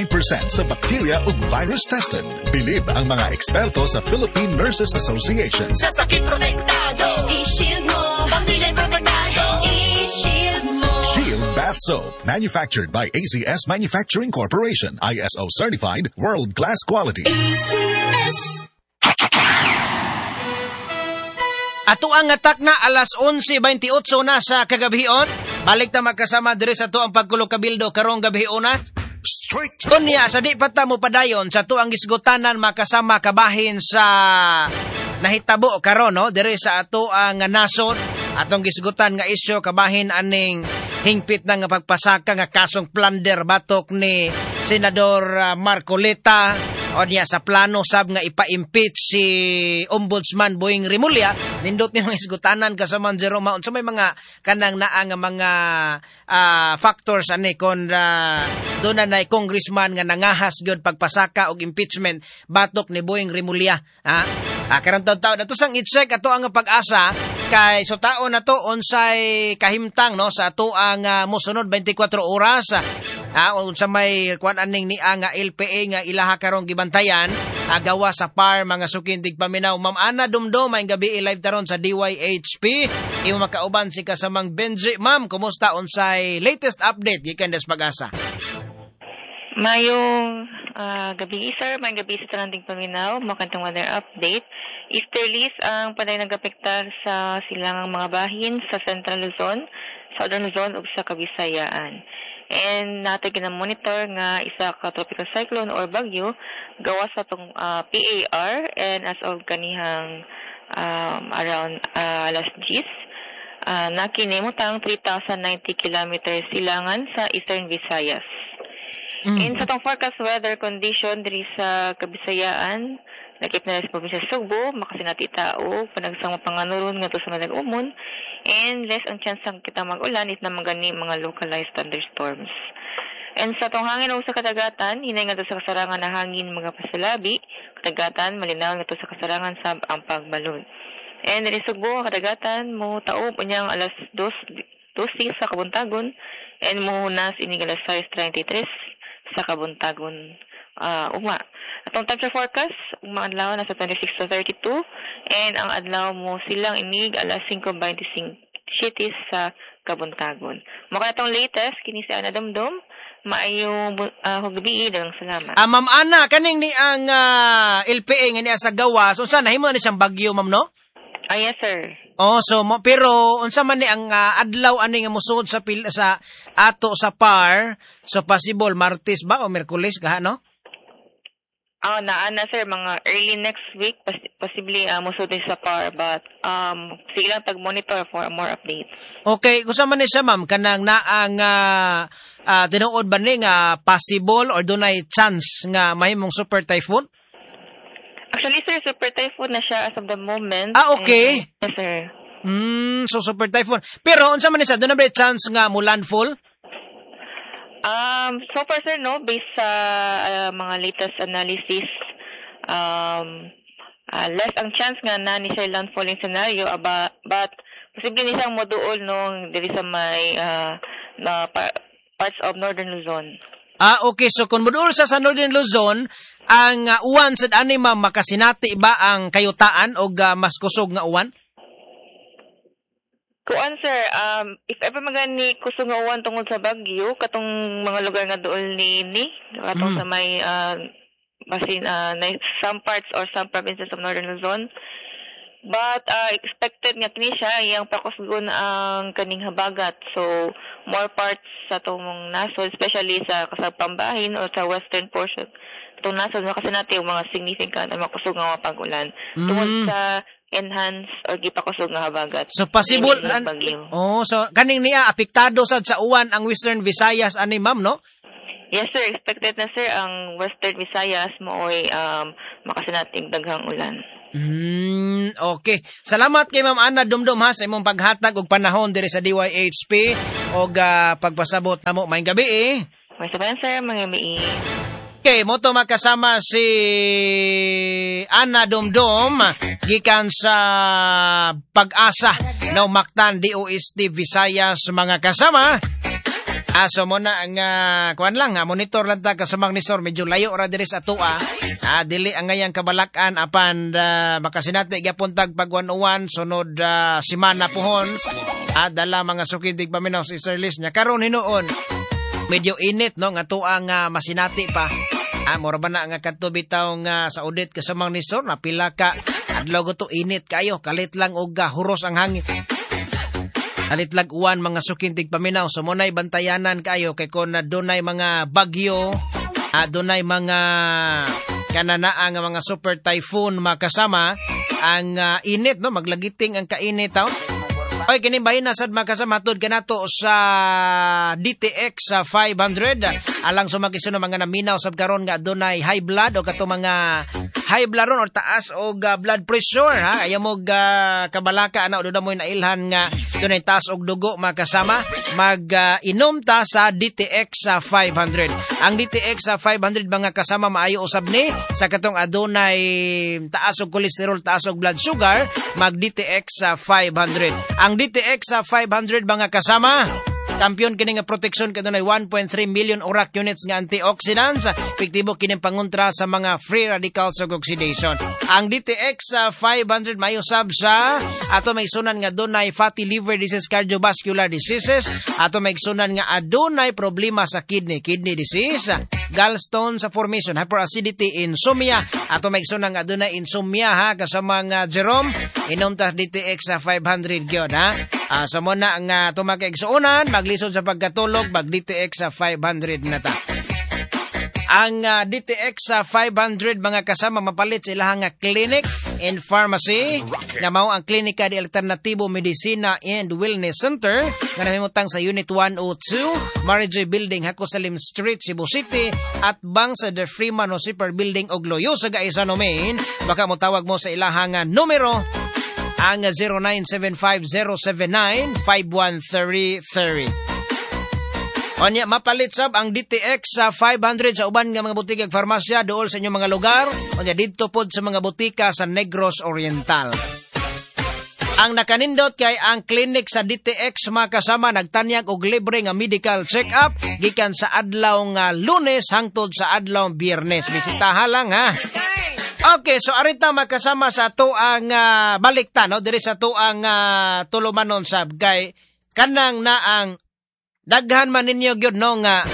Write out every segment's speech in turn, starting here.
Sa bacteria ug virus tested. Bilib ang mga eksperto sa Philippine Nurses Association. Sa sakit protektado, I-shield mo. Pamilya protektado, I-shield mo. Shield Bath Soap, manufactured by ACS Manufacturing Corporation, ISO certified, world-class quality. ACS. Ato ang atak na alas 11:28 na sa kagabion. Balik ta magkasama diri sa ato ang pagkulog kabildo karong gabiona. Straight to Unya sa di pa ta mo padayon sa ato ang gisgutanan makasama kabahin sa nahitabo karon, no, diri sa ato ang nasod, atong gisgutan nga isyu kabahin aning hingpit na nga pagpasaka nga kasong plunder batok ni Senador Marcoleta o niya sa plano sab nga ipa-impeach si Ombudsman Boying Remulla. Nindot ni mga isgutanan kasama Jerome unsa may mga kanang naa nga mga factors ani kon doon na nay congressman nga nangahas gyud pagpasaka og impeachment batok ni Boying Remulla, ha. Karon taon ato sang i-check ato ang pag-asa kay so taon na to unsay kahimtang, no, sa ato ang mosunod 24 oras, unsa may kuan aning niya nga LPA nga ilaha karong gibantayan, gawa sa PAR, mga sukindig paminaw. Ma'am Ana Dumdum, maayong gabi, live taron sa DYHP, imo makauban si kasamang Benji. Ma'am, kumusta, unsay latest update gikan des pag-asa? Mayong gabi, sir. Mayong gabi sa tanang paminaw. Makantong weather update. Easterlies ang panay nagapektar sa silangang mga bahin sa Central Luzon, Southern Luzon ug sa Kabisayaan. And natin gina-monitor nga isa ka tropical cyclone or bagyo gawa sa tong PAR, and as of kanihang around alas 10, nakinimutang 3,090 kilometers silangan sa Eastern Visayas. And sa tong forecast weather condition diri sa Kabisayaan, nakip na sa probinsya Sugbo, makasinati tao, panagsang panganuron ngadto sa Manag-umon, and less ang chance ang kita mag-ulan if na magani mga localized thunderstorms. And sa tong hangin ug sa kadagatan, hinay ngadto sa kasarangan na hangin mga pasalabi, kadagatan malinaw ngadto sa kasarangan sab ang pagbalon. And diri Sugbo, kadagatan mo taob unyang alas 2:12 sa kabuntagon, and mohunas inig alas 6:33 sa kabuntagon uma. Atong temperature forecast, ang mga adlaw nasa 26 to 32, and ang adlaw mo silang inig alas 5:25 sa kabuntagon. Maka atong latest, kini si Ana Dumdum, maayong gabi, daghang salamat. Ma'am Ana, kaning ni ang LPA nga niya sa gawas, unsa nahimo ni siyang bagyo, ma'am, no? Yes, sir. Oh, so mo, pero unsa man ni ang adlaw ani nga mosuod sa sa ato sa PAR, so possible Martes ba o Miyerkules kaha, no? Naa na, sir, mga early next week possibly mosuod sa PAR, but sige lang tag-monitor for more updates. Okay, unsa man ni siya, ma'am, kanang naang tinuod ba ni nga possible or dunay chance nga mahimong super typhoon? Actually, sir, super typhoon na siya as of the moment. Okay. And, yes, sir. So super typhoon. Pero unsa man ni siya, dunay ba chance nga mo landfall? So far, sir, no, based sa mga latest analysis, less ang chance nga na ni siya landfalling scenario, aba, but posible ni siyang moduol nung diri sa may na parts of Northern Luzon. Okay. So kung moduol sa Northern Luzon, ang uwan sad ani, ma'am, makasinati ba ang kayutaan og mas kusog nga uwan? Kuan, sir, if ever magani kusog nga uwan tungod sa bagyo, katong mga lugar nga duol ni katong sa may basin some parts or some provinces of Northern Luzon. But expected nga kini siya iyang pakusgon ang kaning habagat. So more parts sa atong nasod, especially sa kasagpambahin o sa western portion atong nasod, makasinati yung mga significant ang makusog nga mga pag-ulan tungod sa enhance or gipakusog nga habagat. So possible bagyo. Oh, so kaning niya apektado sad sa uwan ang Western Visayas ani, ma'am, no? Yes, sir, expected na, sir, ang Western Visayas mooy makasinating daghang ulan. Okay. Salamat kay Ma'am Ana Dumdum ha sa imong paghatag og panahon diri sa DYHP og pagpasabot namo. Maayong gabi eh. May sabayan, sir, mga gabi. Okay, moto makasama si Ana Dumdum gikan sa Pag-asa no Mactan DOST Visayas, mga kasama. So mo na ang kuan lang ha, monitor lang ta kasamang ni Sor, medyo layo ra diri sa atoa. Dili ang ngayang kabalakan apan makasinati gyapon tag pag 101 sunod semana pohon. Dala mga suki tigpaminaw sa easterlies nya karon hinuon. Medyo init no nga tuwa nga masinati pa. Mura ba na nga kadto bitaw nga sa audit kasamang ni Sor napila ka adlaw to init kayo kalit lang og huros ang hangin. Kalit lag uwan mga suking tigpaminaw so munay bantayanan kayo kay kon dunay mga bagyo, dunay mga kananaa nga mga super typhoon makasama ang init no maglagiting ang kainit taw. Oy kini bahin na sad makasama tud kanato sa DTX sa 500 alang sumagisun ng mga naminaw sab karon nga dunay high blood o kato mga high blood ron or taas og blood pressure ha ayaw mo kabalaka ana doon mo nailhan nga dunay taas og dugo makasama mag inom ta sa DTX sa 500. Ang DTX sa 500 mga kasama maayo usab ni sa katong adunay taas og cholesterol, taas og blood sugar, mag DTX sa 500. Ang DTX sa 500 mga kasama, kampiyon kini nga proteksyon kadunay 1.3 million ORAC units nga antioxidants, epektibo kini pangontra sa mga free radicals ug oxidation. Ang DTX sa 500 maayo sab sa ato may sunan nga dunay fatty liver disease, cardiovascular diseases, ato may sunan nga adunay problema sa kidney, kidney disease, gallstones formation, hyperacidity, insomnia, ato may sunan nga adunay insomnia ha kasama nga Jerome, inom ta DTX sa 500 gyud ha. So mo na nga tumakigsuonan, maglisod sa pagkatulog, mag DTX sa 500 na ta. Ang DTX sa 500 mga kasama mapalit sa ilahang clinic and pharmacy na mao ang Klinika de Alternatibo Medicina and Wellness Center nga nahimutang sa Unit 102, Marijoy Building, Hakosalim Street, Cebu City at bang sa The Freeman Super Building og Loyo sa Gaisano Main. Baka motawag mo sa ilahang numero ang 0975-079-5133. Onya mapalit sab ang DTX sa 500 sa uban nga mga butika ug farmasya duol sa inyong mga lugar. Onya didto pod sa mga butika sa Negros Oriental. Ang nakanindot kay ang clinic sa DTX mga kasama nagtanyag og libre nga medical check-up gikan sa adlaw nga Lunes hangtod sa adlaw Biyernes. Bisitaha lang ha. Okay, so arita makasama sa ato ang balikta no diri sa ato ang tulumanon sab kay kanang naang daghan man ninyo gyud no nga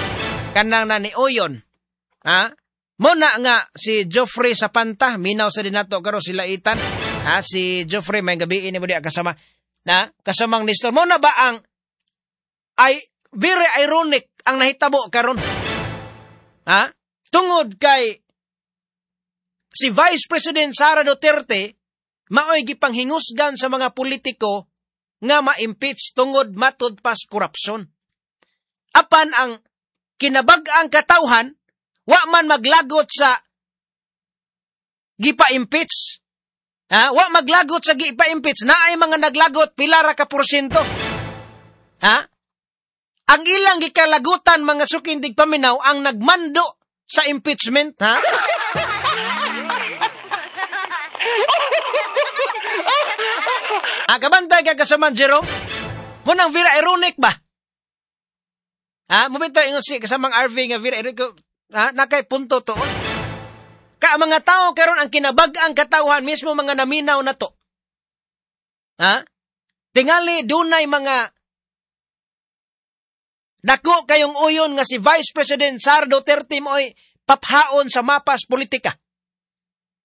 kanang na ni Uyon. Ha? Muna nga si Geoffrey Sapanta minaw sa dinato karon sila itan. Ha si Geoffrey may gabi ini mo diha kasama na kasamang Nestor. Muna ba ang ay very ironic ang nahitabo karon? Ha? Tungod kay si Vice President Sara Duterte maoy gipanghingusgan sa mga politiko nga ma-impeach tungod matud pas korupsyon. Apan ang kinabag-ang katawhan wa man maglagot sa gipa-impeach. Ha? Wa maglagot sa gipa-impeach. Naay mga naglagot pila ra ka porsyento. Ha? Ang ilang gikalagutan mga suking tigpaminaw ang nagmando sa impeachment, ha? Kabantay ka kasaman Jerome? Munang vera ironic ba? Ha? Mubito ingon si kasamang RV nga vera ironic. Ha? Nakay punto to. Ka mga tao karon ang kinabag-ang katawhan mismo mga naminaw na to. Ha? Tingali dunay mga dako kayong uyon nga si Vice President Sara Duterte mo'y paphaon sa mapas politika.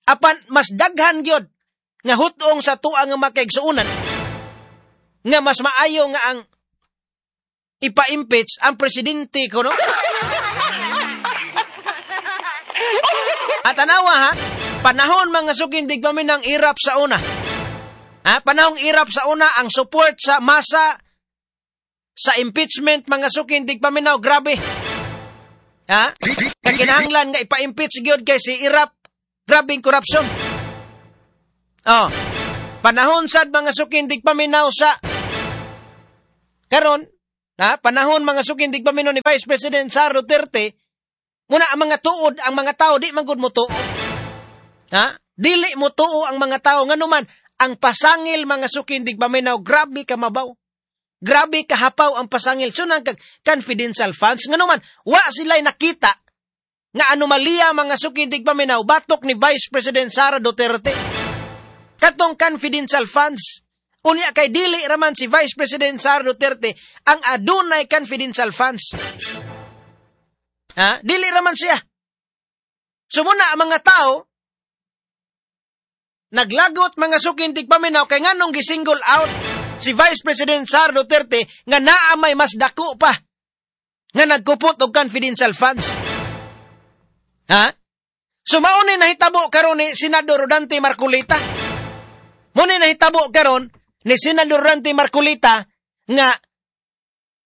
Apan mas daghan gyud nga hutong sa tuang nga makaigsuonan nga mas maayo nga ang ipa-impeach ang presidente ko, no? At tanawa ha, panahon mga sukindig pa ng irap sa una. Ha, panahong irap sa una ang support sa masa sa impeachment mga sukindig paminaw, grabe. Ha? Kakinahanglan nga ipa-impeach gyud kay si irap, grabing corruption. Oh, panahon sad mga sukindig paminaw sa karon, ha? Panahon mga sukindig paminaw ni Vice President Sara Duterte, muna ang mga tuod, ang mga tao di man gud mo tuo. Ha? Dili mo tuo ang mga tao nganuman ang pasangil mga sukindig paminaw, grabe ka mabaw. Grabe kahapaw ang pasangil. So nang confidential funds ngano man wa sila nakita nga anomalya mga suking tigpaminaw batok ni Vice President Sara Duterte. Katong confidential funds. Unya kay dili raman si Vice President Sara Duterte ang adunay confidential funds. Ha? Dili raman siya. So muna ang mga tao naglagot mga suking tigpaminaw kay nganong gisingle out si Vice President Sara Duterte nga naa may mas dako pa nga nagkupot og confidential funds. Ha? So mao ni nahitabo karon ni Senador Rodante Marcoleta. Mao ni nahitabo karon ni Senador Rodante Marcoleta nga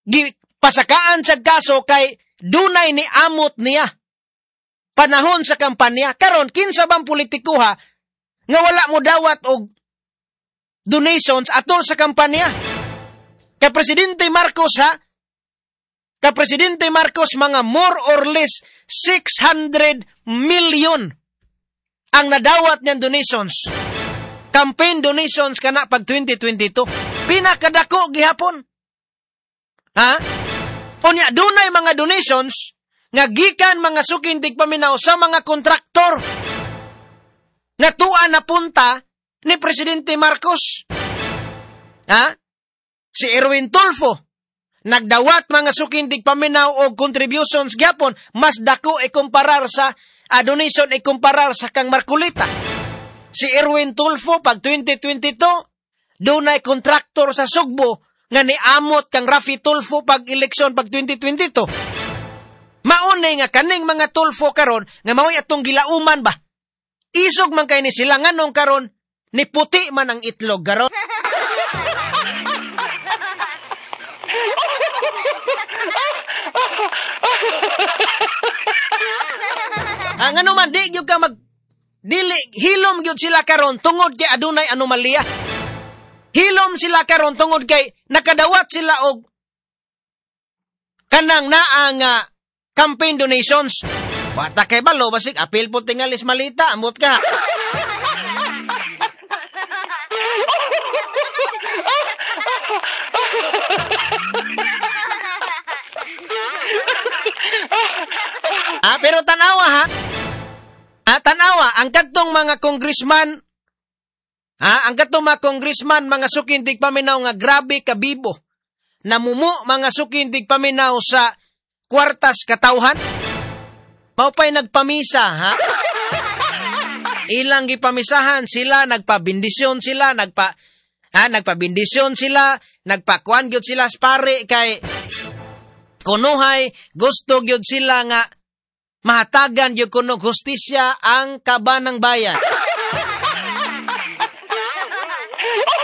gipasakaan sa kaso kay dunay ni amot niya panahon sa kampanya. Karon kinsa bang politikoha nga wala mo dawat og donations atol sa kampanya? Kay Presidente Marcos ha? Kay Presidente Marcos mga more or less 600 million ang nadawat niyang donations. Campaign donations kana pag 2022. Pinakadako gihapon. Ha? Unya dunay mga donations nga gikan mga suking tigpaminaw sa mga kontraktor nga tuwa na punta ni Presidente Marcos. Ha? Si Erwin Tulfo nagdawat mga suking tigpaminaw og contributions gyapon mas dako ikumparar sa donation ikumparar sa kang Marcoleta. Si Erwin Tulfo pag 2022 dunay kontraktor sa Sugbo nga niamot kang Rafi Tulfo pag eleksyon pag 2022. Maunay nga kaning mga Tulfo karon nga mao'y atong gilauman ba. Isog man kay ni sila nganong karon ni puti man ang itlog karon. Ang ano man di gyud ka mag dili hilom gyud sila karon tungod kay adunay anomalya. Hilom sila karon tungod kay nakadawat sila og kanang naa nga campaign donations. Wata kay balo basig apil po tingalis malita amot ka. Ah, pero tanawa ha. Ah, tanawa ang kadtong mga congressman. Ha, ang kadtong mga congressman mga suking tigpaminaw nga grabe kabibo. Namumu mga suking tigpaminaw sa kwartas katawhan. Mao pa'y nagpamisa ha. Ilang gipamisahan sila, nagpabindisyon sila, nagpabindisyon sila, nagpakuan gyud sila sa pare kay kunuhay gusto gyud sila nga mahatagan gyud kuno hustisya ang kaban ng bayan.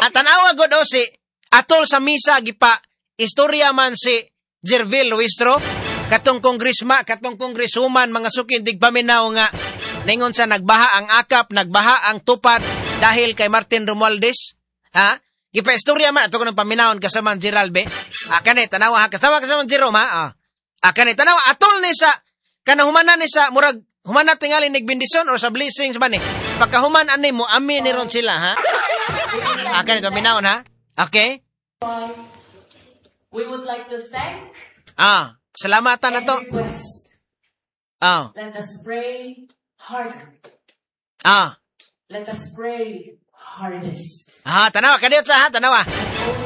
At tanawa gud o si atol sa misa gipa istorya man si Jervil Luistro katong kongresma, katong kongresuman mga sukin tigpaminaw nga ningon sa nagbaha ang akap, nagbaha ang tupad dahil kay Martin Romualdez. Ha? Gipa-istorya man ato kuno paminawon kasama Gerald be. Ah, kani tanawa ha, kasama kasama Jerome ha. Ah, kani tanawa atol ni sa kanahumanan ni sa murag humana tingali nagbendisyon or sa blessings man ni. Pagkahuman ani mo amin ni ron sila ha. Ah, kani paminawon ha. Okay? We would like to thank salamatan na to. Let us pray harder. Let us pray hardest. Tanawa kadiyot sa ha, tanawa.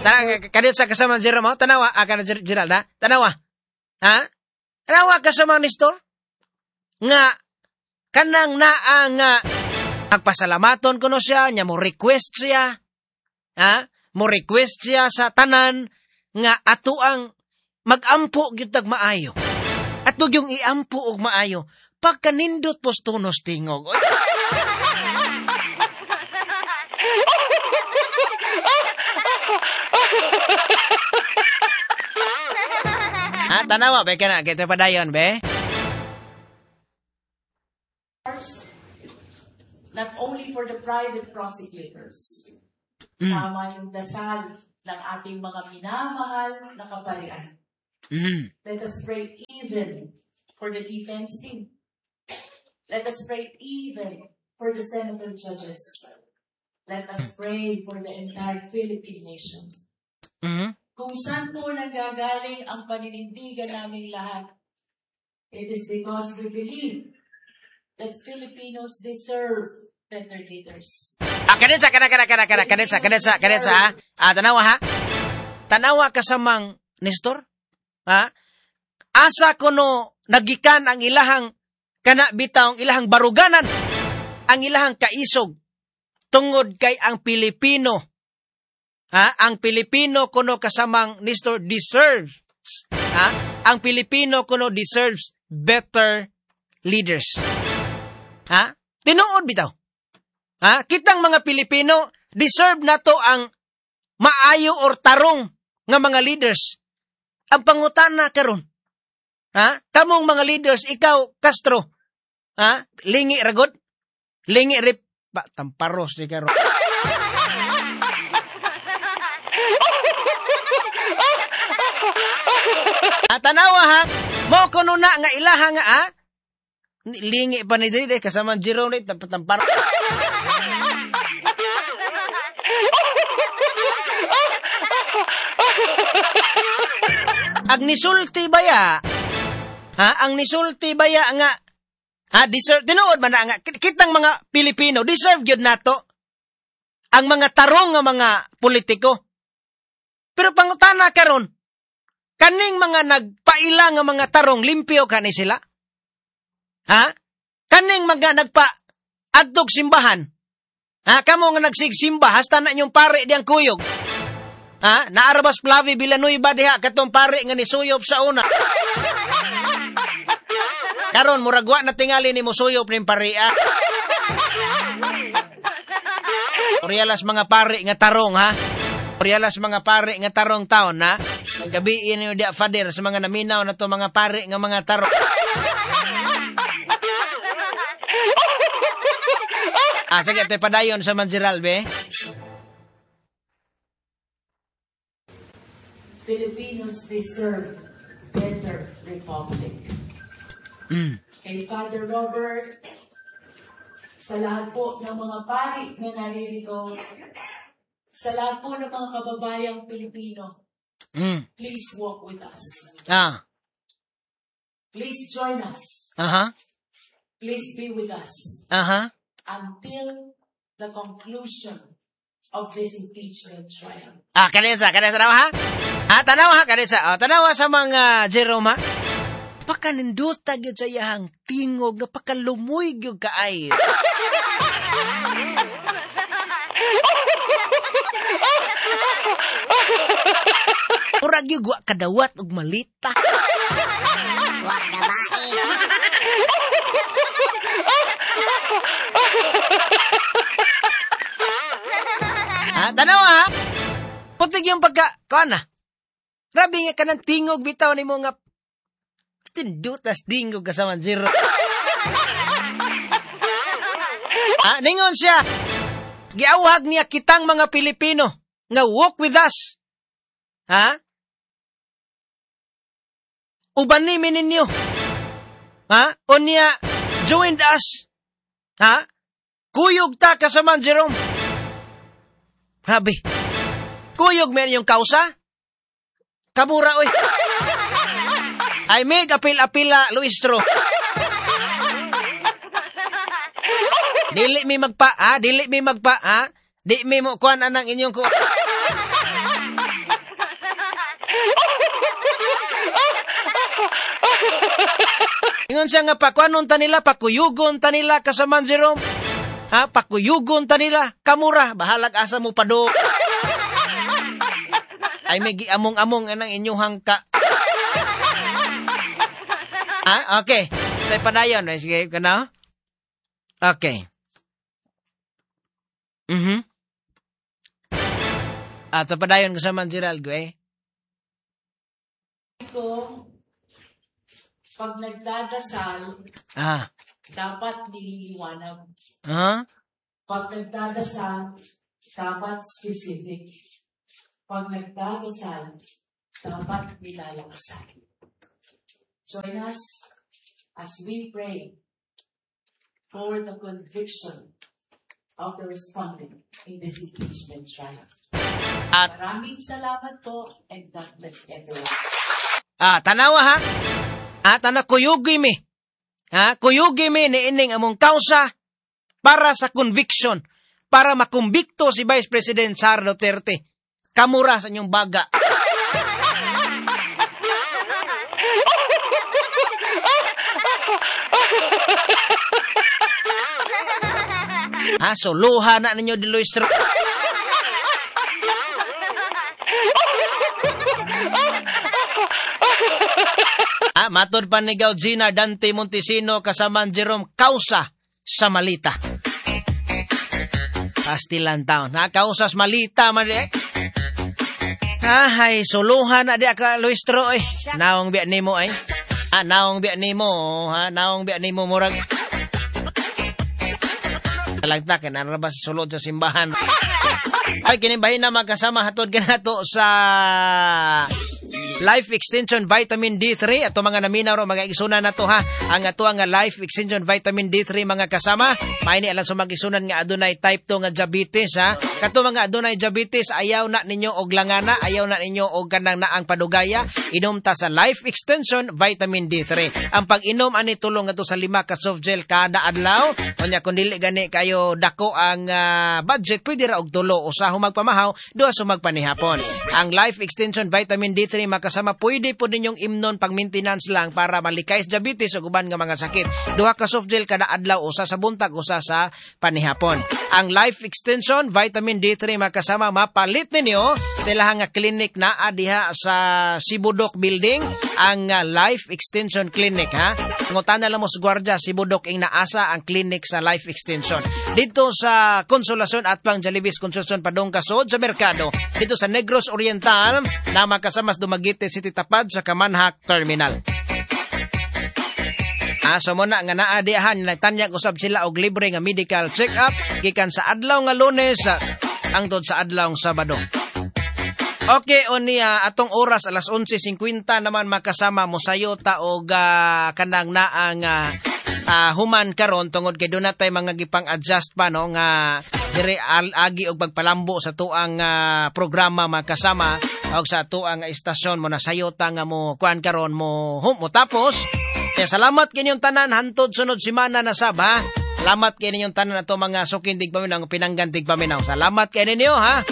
Tanawa kadiyot sa kasama Jerome, tanawa kana Gerald ha. Tanawa. Ha? Tanawa kasama Nestor nga kanang naa nga agpasalamaton kuno siya, nya mo request siya. Ha? Mo request siya sa tanan nga ato ang magampo gyud tag maayo. Ato yung iampo og maayo pagkanindot postunos tingog. Ha, tanawa be kana kita padayon be. Not only for the private prosecutors. Tama yung dasal ng ating mga minamahal na kaparian. Let us pray even for the defense team. Let us pray even for the senator judges. Let us pray for the entire Philippine nation. Kung saan po nanggagaling ang paninindigan naming lahat, it is because we believe that Filipinos deserve better leaders. Ah, kanetsa, kana, kana, kana, kana, kanetsa, kanetsa, kanetsa, ha? Ah, tanawa, ha? Tanawa kasamang Nestor? Ha? Asa kuno nagikan ang ilahang kana bitawng ilahang baruganan, ang ilahang kaisog tungod kay ang Pilipino. Ha? Ang Pilipino kuno kasamang Nestor deserves. Ha? Ang Pilipino kuno deserves better leaders. Ha? Tinuod bitaw. Ha? Kitang mga Pilipino deserve nato ang maayo or tarong nga mga leaders. Ang pangutana karon. Ha? Kamong mga leaders, ikaw Castro. Ha? Lingi ragod. Lingi rip ba tamparos di karon. Ah, tanawa ha. Mo kuno na nga ilaha nga ha. Lingi pa ni diri kasama Jerome ni tamparos. Ang nisulti baya, ha? Ang nisulti baya nga, ha? Deserve, tinuod man na nga, kitang mga Pilipino, deserve gyud nato ang mga tarong nga mga politiko. Pero pangutana karon, kaning mga nagpaila nga mga tarong, limpyo kani sila? Ha? Kaning mga nagpa adtog simbahan, ha? Kamo nga nagsigsimba, hasta na inyong pare diyang kuyog. Ha? Naarabas Flavi Villanueva diha katong pare nga nisuyop sa una. Karon murag wa na tingali ni musuyop ning parea. Orialas mga pare nga tarong ha. Orialas mga pare nga tarong taon ha. Ang gabi ninyo diha Father sa mga naminaw na to mga pare nga mga tarong. Ah, sige, ito'y padayon sa Manjiral, be. Filipinos deserve better republic. Kay Father Robert, sa lahat po ng mga pari na naririto, sa lahat po ng mga kababayang Pilipino, please walk with us. Ah. Please join us. Aha. Please be with us. Aha. Until the conclusion of this impeachment trial. Ah, kanesa, tanawa ha? Ah, tanawa ha, kanesa. Ah, tanawa sa mga Jerome ha? Pakaninduta gyud sa iyahang tingog nga pakalumuy gyud kaayo. Murag gyud wa kadawat og malita. Wa gabae. Ha, tanawa ha? Putig yung pagka, kuan na. Grabe nga ka ng tingog bitaw ni mo nga tindutas dingog kasama zero. Ha, ningon siya, giawhag niya kitang mga Pilipino nga walk with us. Ha? Uban ni ninyo. Ha? O niya, joined us. Ha? Kuyog ta kasama Jerome. Grabe. Kuyog meron yung kausa? Kamura, oy. Ay, may apil-apila, Luistro. Dili mi magpa, ha? Dili mi magpa, ha? Di mi mo kuan anang inyong ku. Ingon siya nga, pakuanon ta nila, pakuyugon ta nila, kasaman Jerome. Ha? Pakuyugon ta nila, kamura, bahalag asa mo pa do. Ay, may giamong-among anang inyuhang ka. Ah, okay. Tayo padayon. Sige, ka na? Okay. Mhm. Ah, tayo padayon kasama Geraldo, eh. Ko, pag nagdadasal, dapat nililiwanag. Ah? Pag nagdadasal, dapat specific. Pag nagdadasal, dapat nilalakasan. Join us as we pray for the conviction of the respondent in this impeachment trial. At Maraming salamat po and God bless everyone. Ah, tanawa ha. Ah, tanaw kuyugi mi. Ha, kuyugi mi ni ining among kausa para sa conviction, para makumbikto si Vice President Sara Duterte. Kamura sa inyong baga. Ha, suluha na ninyo di Luis. Ah, matod pa ni Gina Dante Montesino kasama Jerome Causa sa Malita. Pastilan taon. Ha, kausas Malita man eh. Ha, hay suluhan na di ka Luistro eh. Naong biya nimo ay. Ah, naong biya nimo, ha, naong biya nimo murag. Talagta kay nara ba sa sulod sa simbahan. Ay kini bahin na magkasama hatod kanato sa Life Extension Vitamin D3 ato mga naminaw ro mga igsunan nato ha. Ang ato nga Life Extension Vitamin D3 mga kasama, maini alang sa mga igsunan nga adunay type 2 nga diabetes ha. Kato mga adunay diabetes, ayaw na ninyo og langana, ayaw na ninyo og kanang naang padugaya, inom ta sa Life Extension Vitamin D3. Ang pag-inom ani tulong ato sa 5 ka soft gel kada adlaw. Unya kun dili gani kayo dako ang budget, pwede ra og tulo, usa humagpamahaw, duha sumagpanihapon. Ang Life Extension Vitamin D3 makasama pwede po ninyong imnon pang maintenance lang para malikay sa diabetes o uban nga mga sakit. Duha ka soft gel kada adlaw, usa sa buntag, usa sa panihapon. Ang Life Extension Vitamin D3 makasama mapalit ninyo sa ilahang nga clinic naa diha sa Sibudok Building, ang Life Extension Clinic ha. Ngutana lang mo sa gwardiya Sibudok ing naasa ang clinic sa Life Extension. Dito sa Consolacion at pang Jalibis Consolacion padong kasod sa merkado. Dito sa Negros Oriental na makasama sa Dumaguete City tapad sa Kamanhak Terminal. Ah, so muna nga naa diahan nagtanyag usab sila og libre nga medical check-up gikan sa adlaw nga Lunes hangtod sa adlaw nga Sabado. Okay, unya atong oras alas 11:50 naman makasama mosayo ta og kanang naang human karon tungod kay dunay tay mga gipang-adjust pa no nga dire agi og pagpalambo sa tuang programa makasama og sa tuang istasyon mo nasayo ta nga mo kuan karon mo hum mo tapos. Kaya salamat kinyong tanan hantod sunod semana na sab ha. Salamat kay ninyong tanan ato mga suking tigpaminaw, pinanggan tigpaminaw. Salamat kay ninyo ha.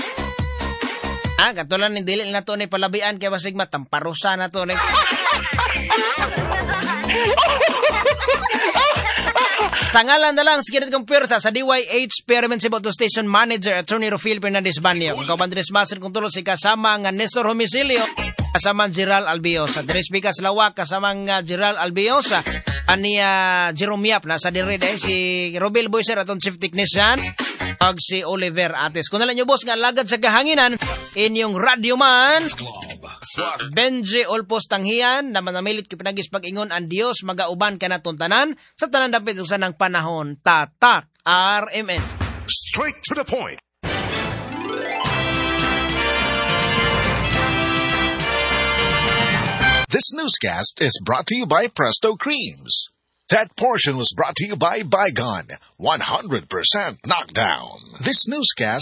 Ah, katulan ni dili na to ni palabian kay basig matamparusa na to ni. Tangalan na lang sa kinit kong pwersa sa DYH Pyramid Cebu Station Manager Attorney Rufil Fernandez Banyo. Kung kauban Dres Master kung tulo si kasama nga Nestor Homicilio, kasama Gerald Albiosa. Dres Bikas Lawak kasama nga Gerald Albiosa. Aniya Jerome Yap nasa dire si Robel Boyser atong chief technician ug si Oliver Ates. Kung nalang nyo boss nga alagad sa kahanginan inyong radyo man Benji Olpos Tanghian na manamilit kipinagis pag-ingon ang Dios magauban ka na tanan sa tanan dapit usan ng panahon. Tatak RMN. Straight to the point. This newscast is brought to you by Presto Creams. That portion was brought to you by Baygon, 100% knockdown. This newscast